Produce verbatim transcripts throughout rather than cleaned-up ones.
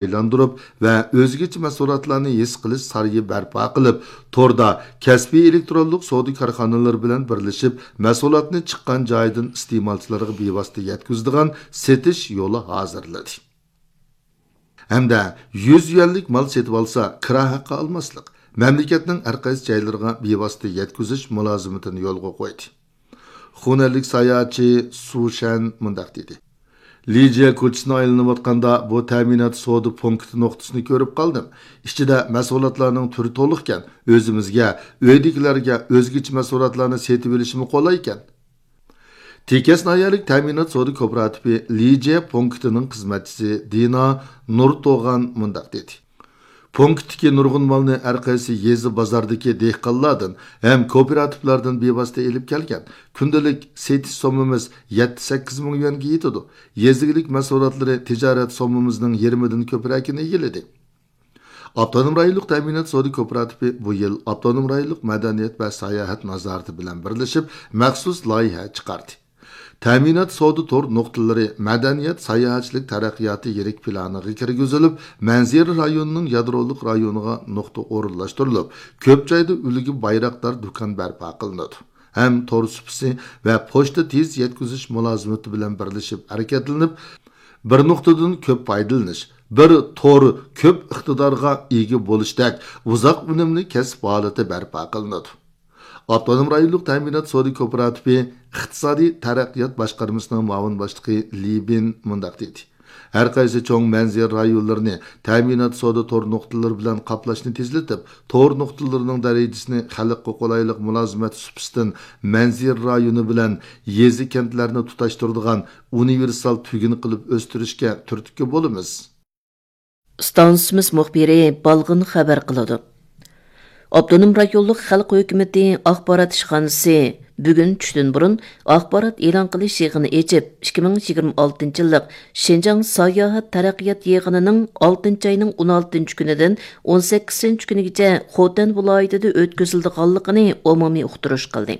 ئايلاندۇرۇپ ۋە ئۆزگىچە مەھسۇلاتلارنى ھېس قىلىش سارىيى بەرپا قىلىپ، توردا كەسپىي ئېلېكترونلۇق سودا كارخانىلىرى بىلەن بىرلىشىپ، مەھسۇلاتنى چىققان جايىدىن ئىستېمالچىلارغا بىۋاسىتە يەتكۈزىدىغان سېتىش يولى ھازىرلىدى. ھەمدە يۈز يۈەنلىك مال سېتىۋالسا، كىرا ھەققى ئالماسلىق، مەملىكەتنىڭ ھەر قايسى جايلىرىغا بىۋاسىتە يەتكۈزۈش مۇلازىمىتىنى يولغا قويدى. خۇنەنلىك ساياھەتچى سۇ شەن مۇنداق دېدى: لىجيە كوچىسىنى ئايلىنىۋاتقاندا، بۇ تەمىنات سودا پونكىتى نۇقتىسىنى كۆرۈپ قالدىم. ئىچىدە مەھسۇلاتلارنىڭ تۈرى تولۇقكەن، ئۆزىمىزگە، ئۆيدىكىلەرگە ئۆزگىچە مەھسۇلاتلارنى سېتىۋېلىشىمۇ قولايكەن. تېكەس ناھىيەلىك تەمىنات سودا كوپىراتىپى لىجيە پونكىتىنىڭ خىزمەتچىسى دىنا نۇرتوغان مۇنداق دېدى: پونكىتتىكى نۇرغۇن مالنى ھەر قايسى يېزا بازاردىكى دېھقانلاردىن ھەم كوپىراتىپلاردىن بىۋاسىتە ئېلىپ كەلگەن. كۈندىلىك سېتىش سوممىمىز يەتتە سەككىز مىڭ يۈەنگە يېتىدۇ. يېزا ئىگىلىك مەھسۇلاتلىرى تىجارەت سوممىمىزنىڭ يېرىمىدىن كۆپرەكىنى ئىگىلىدى. ئاپتونوم رايونلۇق تەمىنات سودا كوپىراتىپى بۇ يىل ئاپتونوم رايونلۇق مەدەنىيەت ۋە ساياھەت نازارىتى بىلەن بىرلىشىپ مەخسۇس لايىھە چىقاردى. تەمىنات سودا تور نۇقتىلىرى مەدەنىيەت ساياھەتچىلىك تەرەققىياتى يىرىك پىلانىغا كىرگۈزۈلۈپ، مەنزىرە رايونىنىڭ يادرولۇق رايونىغا نۇقتا ئورۇنلاشتۇرۇلۇپ، كۆپ جايدا ئۈلگە بايراقدار دۇكان بەرپا قىلىنىدۇ ھەم تور سۇپىسى ۋە پوچتا تېز يەتكۈزۈش مۇلازىمىتى بىلەن بىرلىشىپ ھەرىكەتلىنىپ، بىر نۇقتىدىن كۆپ پايدىلىنىش، بىر تور كۆپ ئىقتىدارغا ئىگە بولۇشتەك ئۇزاق ئۈنۈملۈك كەسىپ ھالىتى بەرپا قىلىنىدۇ. ئاپتونوم رايونلۇق تەمىنات سودا كوپىراتىپى ئىقتىسادىي تەرەققىيات باشقارمىسىنىڭ مۇئاۋىن باشلىقى لى بىن مۇنداق دېدى: ھەر قايسى چوڭ مەنزىرە رايونلىرىنى تەمىنات سودا تور نۇقتىلىرى بىلەن قاپلاشنى تېزلىتىپ، تور نۇقتىلىرىنىڭ دەرىجىسىنى خەلققە قولايلىق مۇلازىمەت سۇپىسىدىن مەنزىرە رايونى بىلەن يېزا، كەنتلەرنى تۇتاشتۇرىدىغان ئۇنىۋېرسال تۈگۈن قىلىپ ئۆستۈرۈشكە تۈرتكە بولىمىز. ئىستانسىمىز مۇخبىرى بالغىن خەۋەر قىلىدۇ. ئاپتونوم رايونلۇق خەلق ھۆكۈمىتى ئاخبارات ئىشخانىسى بۈگۈن چۈشتىن بۇرۇن ئاخبارات ئېلان قىلىش يىغىنى ئېچىپ، ئىككى مىڭ يىگىرمە ئالتىنچى يىللىق شىنجاڭ ساياھەت تەرەققىيات يىغىنىنىڭ ئالتىنچى ئاينىڭ ئون ئالتىنچى كۈنىدىن ئون سەككىزىنچى كۈنىگىچە خوتەن ۋىلايىتىدە ئۆتكۈزۈلىدىغانلىقىنى ئومۇمىي ئۇقتۇرۇش قىلدى.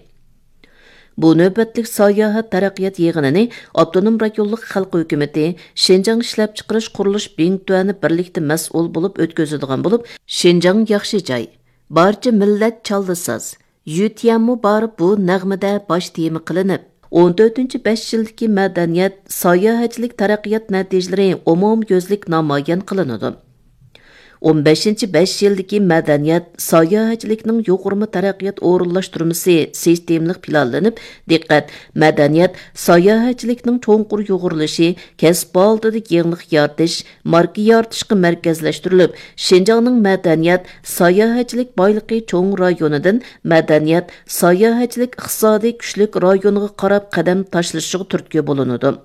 بۇ نۆۋەتلىك ساياھەت تەرەققىيات يىغىنىنى ئاپتونوم رايونلۇق خەلق ھۆكۈمىتى، شىنجاڭ ئىشلەپچىقىرىش قۇرۇلۇش بىڭتۈەنى بىرلىكتە مەسئۇل بولۇپ ئۆتكۈزىدىغان بولۇپ، شىنجاڭ ياخشى جاي، بارچە مىللەت چاللا ساز، يۈتيەنمۇ بار بۇ نەغمىدە باش تېما قىلىنىپ، ئون تۆتىنچى بەش يىلدىكى مەدەنىيەت، ساياھەتچىلىك تەرەققىيات نەتىجىلىرى ئومۇميۈزلۈك نامايان قىلىنىدۇ. ئون بەشىنچى بەش يىلدىكى مەدەنىيەت، ساياھەتچىلىكنىڭ يۇغۇرما تەرەققىيات ئورۇنلاشتۇرمىسى سىستېمىلىق پىلانلىنىپ، دىققەت مەدەنىيەت، ساياھەتچىلىكنىڭ چوڭقۇر يۇغۇرۇلۇشى، كەسىپ ھالىتىدە يېڭىلىق يارىتىش، ماركا يارىتىشقا مەركەزلەشتۈرۈلۈپ، شىنجاڭنىڭ مەدەنىيەت، ساياھەتچىلىك بايلىقى چوڭ رايونىدىن مەدەنىيەت، ساياھەتچىلىك ئىقتىسادىي كۈچلۈك رايونىغا قاراپ قەدەم تاشلىشىغا تۈرتكە بولۇنىدۇ.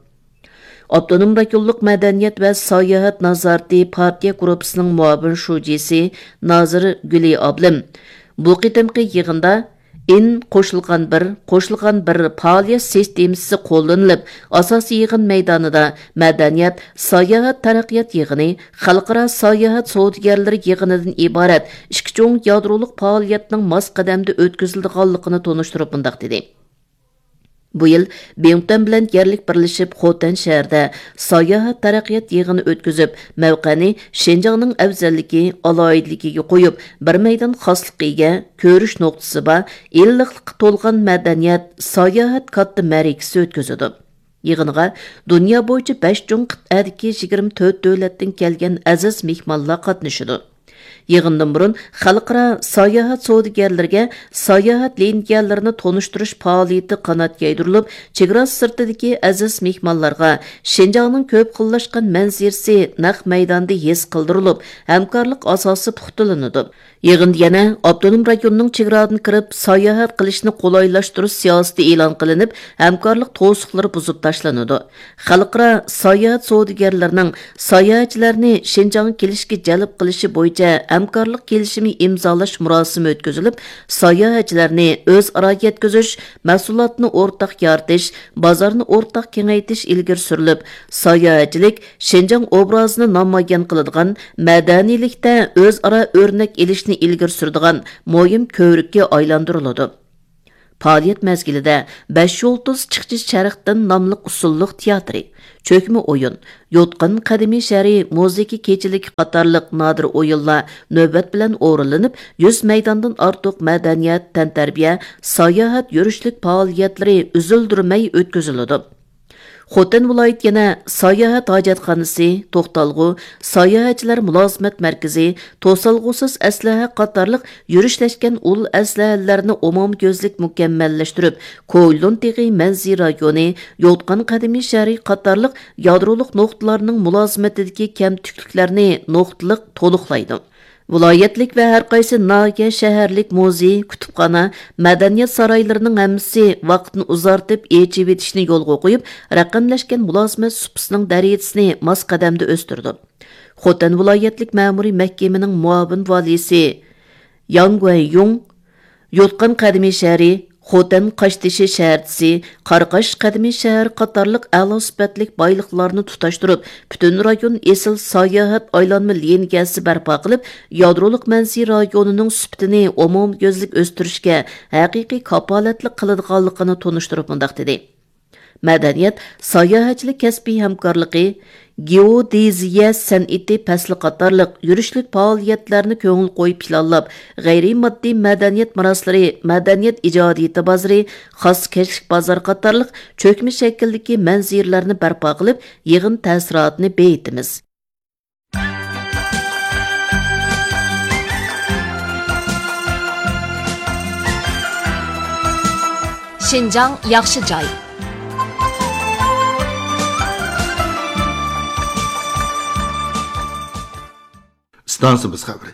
ئاپتونوم رايونلۇق مەدەنىيەت ۋە ساياھەت نازارىتى پارتىيە گۇرۇپپىسىنىڭ مۇئاۋىن شۇجىسى نازىر گۈلى ئابلىم بۇ قېتىمقى يىغىندا ئىن قوشۇلغان بىر، قوشۇلغان بىر پائالىيەت سىستېمىسى قوللىنىلىپ، ئاساسىي يىغىن مەيدانىدا مەدەنىيەت، ساياھەت تەرەققىيات يىغىنى، خەلقئارا ساياھەت سودىگەرلىرى يىغىنىدىن ئىبارەت ئىككى چوڭ يادرولۇق پائالىيەتنىڭ ماس قەدەمدە ئۆتكۈزۈلىدىغانلىقىنى تونۇشتۇرۇپ مۇنداق دېدى. بۇ يىل بىڭتۈەن بىلەن يەرلىك بىرلىشىپ خوتەن شەھىرىدە ساياھەت تەرەققىيات يىغىنى ئۆتكۈزۈپ، مەۋقەنى شىنجاڭنىڭ ئەۋزەللىكى، ئالاھىدىلىكىگە قويۇپ، بىر مەيدان خاسلىققا ئىگە، كۆرۈش نۇقتىسى بار، ئىللىقلىققا تولغان مەدەنىيەت، ساياھەت كاتتا مەرىكىسى ئۆتكۈزىدۇ. يىغىنغا دۇنيا بويىچە بەش چوڭ قىتئەدىكى يىگىرمە تۆت دۆلەتتىن كەلگەن ئەزىز مېھمانلار قاتنىشىدۇ. يىغىندىن بۇرۇن خەلقئارا ساياھەت سودىگەرلىرىگە ساياھەت لىنىيەلىرىنى تونۇشتۇرۇش پائالىيىتى قانات يايدۇرۇلۇپ، چېگرا سىرتىدىكى ئەزىز مېھمانلارغا شىنجاڭنىڭ كۆپ خىللاشقان مەنزىرىسى نەق مەيداندا ھېس قىلدۇرۇلۇپ، ھەمكارلىق ئاساسى پۇختىلىنىدۇ. يىغىندا يەنە ئاپتونوم رايوننىڭ چېگرادىن كىرىپ ساياھەت قىلىشنى قولايلاشتۇرۇش سىياسىتى ئېلان قىلىنىپ، ھەمكارلىق توسۇقلىرى بۇزۇپ تاشلىنىدۇ. خەلقئارا ساياھەت سودىگەرلىرىنىڭ ساياھەتچىلەرنى شىنجاڭغا كېلىشكە جەلپ قىلىشى بويىچە ھەمكارلىق كېلىشىمى ئىمزالاش مۇراسىمى ئۆتكۈزۈلۈپ، ساياھەتچىلەرنى ئۆزئارا يەتكۈزۈش، مەھسۇلاتنى ئورتاق يارىتىش، بازارنى ئورتاق كېڭەيتىش ئىلگىرى سۈرۈلۈپ، ساياھەتچىلىك شىنجاڭ ئوبرازىنى نامايان قىلىدىغان، مەدەنىيلىكتە ئۆزئارا ئۆرنەك ئېلىشنى ئىلگىرى سۈرىدىغان مۇھىم كۆۋرۈككە ئايلاندۇرۇلىدۇ. پائالىيەت مەزگىلىدە بەش يۇلتۇز چىقچى شەرقتىن ناملىق ئۇسسۇللۇق تىياتىرى، چۆكمە ئويۇن، يوتقان قەدىمىي شەھىرى مۇزىكا كېچىلىكى قاتارلىق نادىر ئويۇنلار نۆۋەت بىلەن ئورۇنلىنىپ، يۈز مەيداندىن ئارتۇق مەدەنىيەت، تەنتەربىيە، ساياھەت، يۈرۈشلۈك پائالىيەتلىرى ئۈزۈلدۈرمەي ئۆتكۈزۈلىدۇ. خوتەن ۋىلايىتى يەنە ساياھەت ھاجەتخانىسى، توختالغۇ، ساياھەتچىلەر مۇلازىمەت مەركىزى، توسالغۇسىز ئەسلىھە قاتارلىق يۈرۈشلەشكەن ئۇل ئەسلىھەلەرنى ئومۇميۈزلۈك مۇكەممەللەشتۈرۈپ، كويلۇن تېغى مەنزىرە رايونى، يوتقان قەدىمىي شەھىرى قاتارلىق يادرولۇق نۇقتىلارنىڭ مۇلازىمىتىدىكى كەمتۈكلۈكلەرنى نۇقتىلىق تولۇقلايدۇ. ۋىلايەتلىك ۋە ھەر قايسى ناھىيە، شەھەرلىك مۇزېي، كۇتۇپخانا، مەدەنىيەت سارايلىرىنىڭ ھەممىسى ۋاقىتنى ئۇزارتىپ ئېچىۋېتىشنى يولغا قويۇپ، رەقەملەشكەن مۇلازىمەت سۇپىسىنىڭ دەرىجىسىنى ماس قەدەمدە ئۆستۈردى. خوتەن ۋىلايەتلىك مەمۇرىي مەھكىمىنىڭ مۇئاۋىن ۋالىيسى ياڭ گۇەنيۇڭ، يوتقان قەدىمىي شەھىرى، خوتەن قاشتېشى شەھەرچىسى، قاراقاش قەدىمىي شەھەر قاتارلىق ئەلا سۈپەتلىك بايلىقلارنى تۇتاشتۇرۇپ، پۈتۈن رايون ئېسىل ساياھەت ئايلانما لىنىيەسى بەرپا قىلىپ، يادرولۇق مەنزىرە رايونىنىڭ سۈپىتىنى ئومۇميۈزلۈك ئۆستۈرۈشكە ھەقىقىي كاپالەتلىك قىلىدىغانلىقىنى تونۇشتۇرۇپ مۇنداق دېدى: مەدەنىيەت، ساياھەتچىلىك كەسپىي ھەمكارلىقى، گېئودېزىيە سەنئىتى پەسلى قاتارلىق يۈرۈشلۈك پائالىيەتلەرنى كۆڭۈل قويۇپ پىلانلاپ، غەيرىي ماددىي مەدەنىيەت مىراسلىرى، مەدەنىيەت ئىجادىيىتى بازىرى، خاسكەشلىك بازار قاتارلىق چۆكمە شەكىلدىكى مەنزىرىلەرنى بەرپا قىلىپ، يىغىن تەسىراتىنى بېيىتىمىز. شىنجاڭ ياخشى جاي. ئىستانسىمىز خەۋىرى.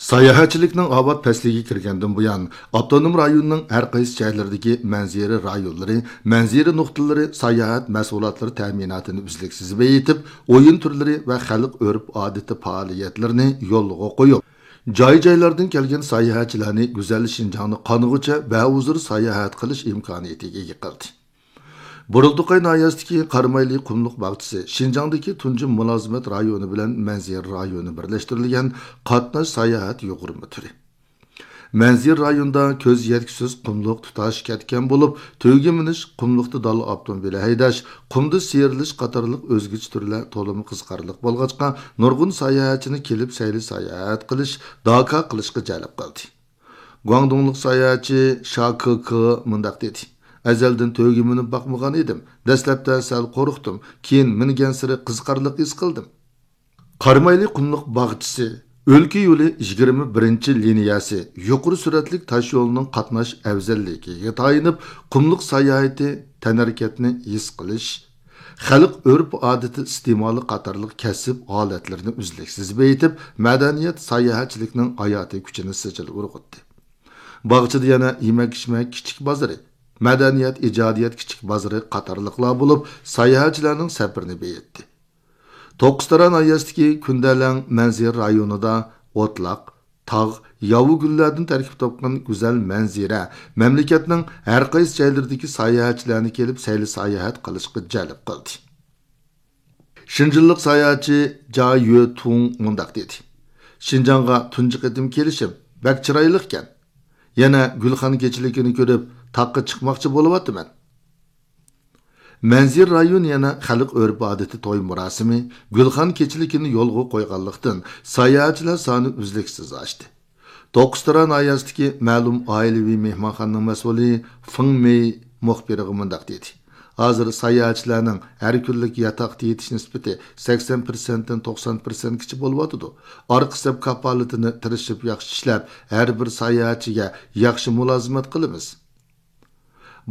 ساياھەتچىلىكنىڭ ئاۋات پەسلىگە كىرگەندىن بۇيان، ئاپتونوم رايوننىڭ ھەر قايسى جايلىرىدىكى مەنزىرە رايونلىرى، مەنزىرە نۇقتىلىرى ساياھەت مەھسۇلاتلىرى تەمىناتىنى ئۈزلۈكسىز بېيىتىپ، ئويۇن تۈرلىرى ۋە خەلق ئۆرپ-ئادىتى پائالىيەتلىرىنى يولغا قويۇپ، جاي-جايلاردىن كەلگەن ساياھەتچىلەرنى گۈزەل شىنجاڭنى قانغۇچە بەھۇزۇر ساياھەت قىلىش ئىمكانىيىتىگە ئىگە قىلدى. بۇرۇلدىقاي ناھىيەسىدىكى قارامايلى قۇملۇق باغچىسى شىنجاڭدىكى تۇنجى مۇلازىمەت رايونى بىلەن مەنزىرە رايونى بىرلەشتۈرۈلگەن قاتناش ساياھەت يۇغۇرما تۈرى. مەنزىرە رايونىدا كۆز يەتكۈسىز قۇملۇق تۇتاش كەتكەن بولۇپ، تۆگە مىنىش، قۇملۇقتا داللا ئاپتوموبىلى ھەيدەش، قۇمدا سىيرىلىش قاتارلىق ئۆزگىچە تۈرلەر تولىمۇ قىزىقارلىق بولغاچقا، نۇرغۇن ساياھەتچىنى كېلىپ سەيلە ساياھەت قىلىش، داكا قىلىشقا جەلپ قىلدى. گۇاڭدۇڭلۇق ساياھەتچى شا كې كې مۇنداق دېدى: ئەزەلدىن تۆگە مىنىپ باقمىغان ئىدىم. دەسلەپتە سەل قورقتۇم، كېيىن مىنگەنسېرى قىزىقارلىق ھېس قىلدىم. قارامايلى قۇملۇق باغچىسى ئۆلكە يولى يىگىرمە بىرىنچى لىنىيەسى يۇقىرى سۈرئەتلىك تاش يولىنىڭ قاتناش ئەۋزەللىكىگە تايىنىپ، قۇملۇق ساياھىتى، تەنھەرىكەتنى ھېس قىلىش، خەلق ئۆرپ-ئادىتى ئىستېمالى قاتارلىق كەسىپ ھالەتلىرىنى ئۈزلۈكسىز بېيىتىپ، مەدەنىيەت، ساياھەتچىلىكنىڭ ھاياتىي كۈچىنى سىجىل ئۇرغۇتتى. باغچىدا يەنە يېمەك-ئىچمەك كىچىك بازىرى، مەدەنىيەت، ئىجادىيەت كىچىك بازىرى قاتارلىقلار بولۇپ، ساياھەتچىلەرنىڭ سەپىرىنى بېيىتتى. توققۇزتارا ناھىيەسىدىكى كۈندەلەڭ مەنزىرە رايونىدا ئوتلاق، تاغ، ياۋا گۈللەردىن تەركىب تاپقان گۈزەل مەنزىرە مەملىكەتنىڭ ھەر قايسى جايلىرىدىكى ساياھەتچىلەرنى كېلىپ سەيلە ساياھەت قىلىشقا جەلپ قىلدى. شىنجىللىق ساياھەتچى جا يۆتۇڭ مۇنداق دېدى: شىنجاڭغا تۇنجى قېتىم كېلىشىم، بەك چىرايلىقكەن. يەنە گۈلخان كېچىلىكىنى كۆرۈپ، تاغقا چىقماقچى بولۇۋاتىمەن. مەنزىرە رايونى يەنە خەلق ئۆرپ-ئادىتى توي مۇراسىمى، گۈلخان كېچىلىكىنى يولغا قويغانلىقتىن، ساياھەتچىلەر سانى ئۈزلۈكسىز ئاشتى. توققۇزتارا ناھىيەسىدىكى مەلۇم ئائىلىۋى مېھمانخانىنىڭ مەسئۇلى فېڭ مېي مۇخبىرغا مۇنداق دېدى: ھازىر ساياھەتچىلەرنىڭ ھەر كۈنلۈك ياتاقتا يېتىش نىسبىتى سەكسەن پىرسەنتتىن توقسان پىرسەنتكىچە بولۇۋاتىدۇ. ئارقا سەپ كاپالىتىنى تىرىشىپ ياخشى ئىشلەپ، ھەر بىر ساياھەتچىگە ياخشى مۇلازىمەت قىلىمىز.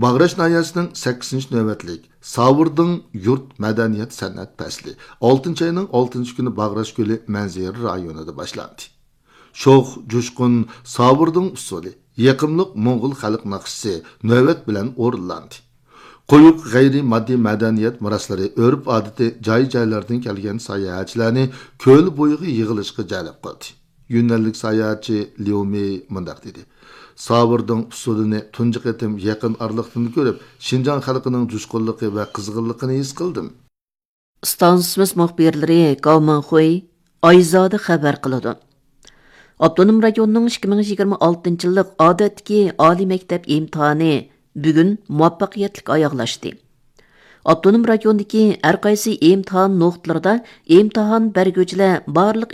باغراش ناھىيەسىنىڭ سەككىزىنچى نۆۋەتلىك ساۋۇردىڭ يۇرت مەدەنىيەت سەنئەت پەسلى ئالتىنچى ئاينىڭ ئالتىنچى كۈنى باغراش كۆلى مەنزىرە رايونىدا باشلاندى. شوخ، جۇشقۇن، ساۋۇردىڭ ئۇسسۇلى، يېقىملىق موڭغۇل خەلق ناخشىسى نۆۋەت بىلەن ئورۇنلاندى. قويۇق غەيرىي ماددىي مەدەنىيەت مىراسلىرى، ئۆرپ-ئادىتى، جاي-جايلاردىن كەلگەن ساياھەتچىلەرنى كۆل بويىغا يىغىلىشقا جەلپ قىلدى. يۈننەنلىك ساياھەتچى ليۇ مېي مۇنداق دېدى: ساۋۇردىڭ ئۇسسۇلىنى تۇنجى قېتىم يېقىن ئارىلىقتىن كۆرۈپ، شىنجاڭ خەلقىنىڭ جۇشقۇنلۇقى ۋە قىزغىنلىقىنى ھېس قىلدىم. ئىستانسىمىز مۇخبىرلىرى گاۋ مىڭخۇي، ئايزادە خەۋەر قىلىدۇ. ئاپتونوم رايوننىڭ ئىككى مىڭ يىگىرمە ئالتىنچى يىللىق ئادەتتىكى ئالىي مەكتەپ ئىمتىھانى بۈگۈن مۇۋەپپەقىيەتلىك ئاياغلاشتى. ئاپتونوم رايوندىكى ھەر قايسى ئىمتىھان نۇقتىلىرىدا ئىمتىھان بەرگۈچىلەر بارلىق